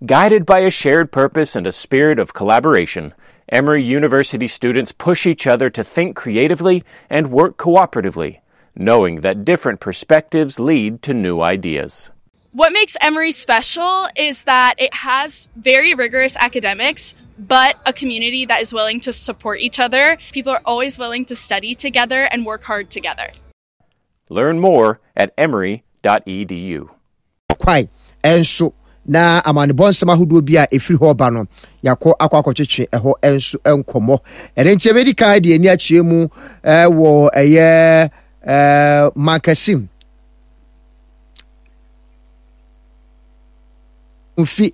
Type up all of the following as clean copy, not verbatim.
Guided by a shared purpose and a spirit of collaboration, Emory University students push each other to think creatively and work cooperatively, knowing that different perspectives lead to new ideas. What makes Emory special is that it has very rigorous academics, but a community that is willing to support each other. People are always willing to study together and work hard together. Learn more at emory.edu. Kwae nso na amanebɔ nsɛm ahodoɔ bi a ɛfiri hɔ ba no yɛakɔ akɔ akɔtwetwe ɛhɔ nso nkɔmmɔ. Ɛno nti ɛbɛdi kan de ani akyerɛ mu wɔ ɛyɛ Mankasim Ekumfi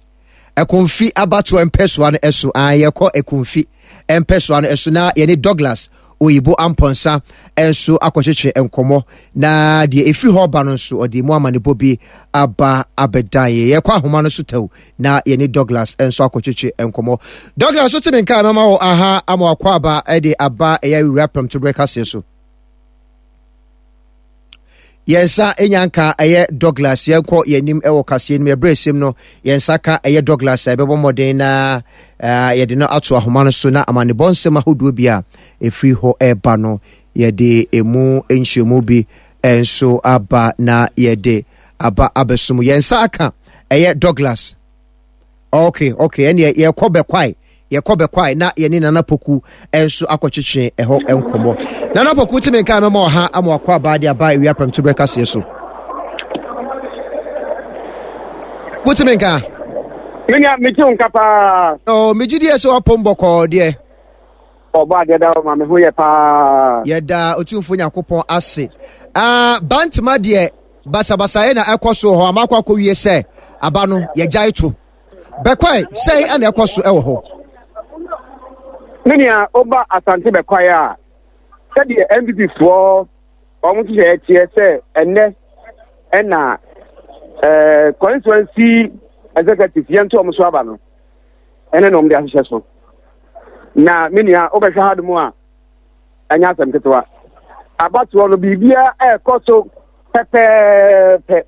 Ekumfi abatoɔ mpɛsoa no so. Ah, yɛkɔ Ekumfi mpɛsoa no so na yɛne Douglas Oyibo Ampɔnsa nso akɔtwetwe nkɔmmɔ na deɛ ɛfiri hɔ ba no nso ɔde mu amanebɔ bi aba abɛdan yɛ. Yɛkɔ ahoma no so tɛw na yɛne Douglas nso akɔtwetwe nkɔmmɔ. Douglas, wote me nka mɛma wo aha ama wakɔ aba de aba ɛyɛ awura prɛmtoberɛ kaseɛ so. Yɛn nsa nya nka ɛyɛ Douglas, yɛnkɔ yɛn anim wɔ kaseɛ no mu. Ɛberɛ ɛsɛm no, yɛn nsa ka ɛyɛ Douglas a ɛbɛbɔ mmɔden na yɛde no ato ahoma no so na amanebɔ nsɛm ahodoɔ bi a ɛfiri hɔ ɛreba no yɛde ɛmu nkyerɛmu bi nso aba na yɛde aba abɛsom. Yɛn nsa aka ɛyɛ Douglas. Okay, okay, ɛneɛ yɛkɔ bɛkwae, yɛkɔ bɛkwae na yɛne Nana Poku nso akɔtwetwe ɛhɔ nkɔmmɔ. Nana Poku tumi nka mɛma ɔha ama wakɔ abaa de aba awia prɛmto berɛ kaseɛ so. Wotumi nka? Menya megye wo nka paa. Oh, megye deɛ sɛ wapom bɔkɔɔ deɛ. Ɔbɔ adeɛ da ma me ho yɛ paa. Yɛda Otumfoɔ Nyankopɔn ase. Ah, Bantama deɛ basabasayɛ na ɛkɔ so wɔ hɔ ama akɔ akɔwie sɛ aba no yɛgyae to. Bɛkwae sɛn ɛna ɛkɔ so ɛwɔ hɔ? Me nua woba Asante Bɛkwae a sɛdeɛ NPP foɔ wɔn nhyehyɛeɛ teɛ sɛ ɛnnɛ ɛna ɛɛ constituency executive yɛnto wɔn so aba no. ɛne na wɔde ahyehyɛ so. Na me nua, wobɛhwɛ ha nom a, ɛnyɛ asɛm ketewa. Abatoɔ no, biribiara ɛrekɔ so pɛpɛɛpɛ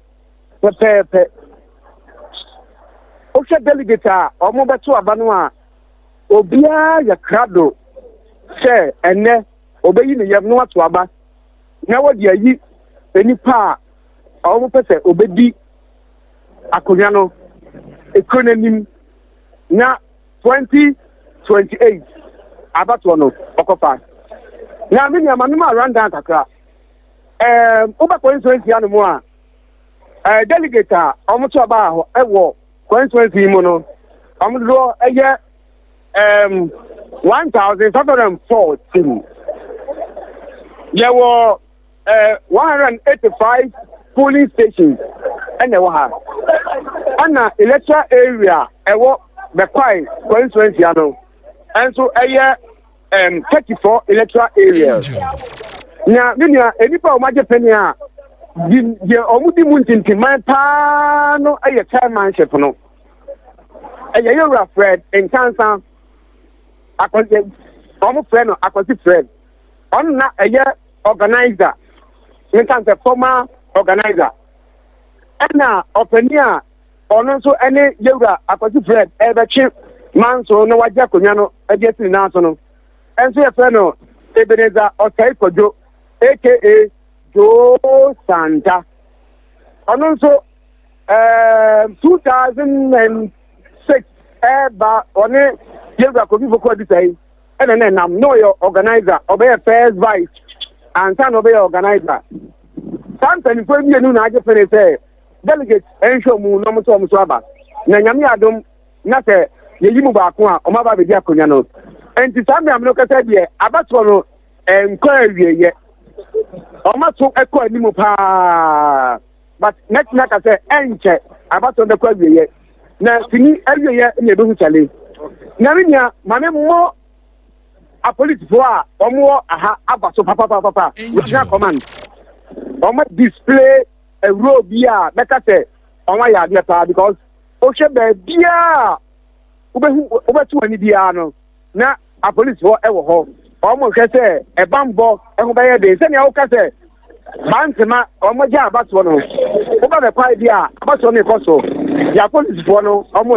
pɛpɛɛpɛ. Wohwɛ delegate a wɔbɛto aba no a, obiara yɛ krado sɛ ɛnnɛ ɔbɛyi ne yam na wato aba na wɔde ayi nnipa a wɔpɛ sɛ ɔbɛdi akonnwa no kuro no anim na 2028 abatoɔ no ɔkɔfa. Na me nua ma mema rundown kakra. Ɛɛm wobɛ constituency ano mu a ɛɛ delegate a wɔn to aba hɔ ɛwɔ constituency yi mu no wɔn dodoɔ ɛyɛ ɛɛm 1514. Yɛwɔ 185 polling stations ɛna ɛwɔ ha ɛna electoral area ɛwɔ Bɛkwae constituency ano ɛnso ɛyɛ 34 electoral areas na me nua nnipa a wɔagye pene a deɛ wɔn di mu ntintiman paa no yɛ chairmanship no ɛyɛ yɛwura Fred Nkansa akɔsi wɔn frɛ no akɔsi Fred ɔno na ɛyɛ organizer menka sɛ former organizer ɛna ɔpanin a ɔno nso ɛne yɛwura Akwasi Fred ɛbɛtwe manso na wagye akonnwa no ɛde asi ne nan so no ɛnso yɛfrɛ no Ebenezer Ɔsɛe Kwadwo aka Joe Santa ɔno nso ɛɛ 2006 ɛɛba ɔne yɛwura Kofi Foku Adusai ɛna na ɛnam na ɔyɛ organizer ɔbɛyɛ first vice ansa na ɔbɛyɛ organizer saa mpanimfoɔ mmienu na agye pene sɛ delegate nhwɛ mu na wɔn nso wɔn so aba na nyame adom na sɛ yɛyi mu baako a wɔn aba abɛdi akonnwa no nti saa mmeammɛ no kasa deɛ abatoɔ no nkɔ awieyɛ wɔn ato kɔ anim paa. But mɛtumi aka sɛ ɛnkyɛ abatoɔ no bɛkɔ awieɛ na sini awieɛ na ɛbɛhu kyale. Na me nua ma me mmɔ apolisifoɔ a wɔwɔ aha aba so papapapapa regional command wɔn display a role bi a bɛka sɛ wɔn ayɛ adeɛ paa because wohwɛ baabiara wobɛhu wobɛto w'ani biara no na apolisifoɔ wɔ hɔ. Wɔhwɛ sɛ ɛbanbɔ ho bɛyɛ den. Sɛnea woka sɛ Bantama wɔgya abatoɔ no, woba bɛkwae bi a abatoɔ no rekɔ so. Deɛ apolisifoɔ no wɔyɛ.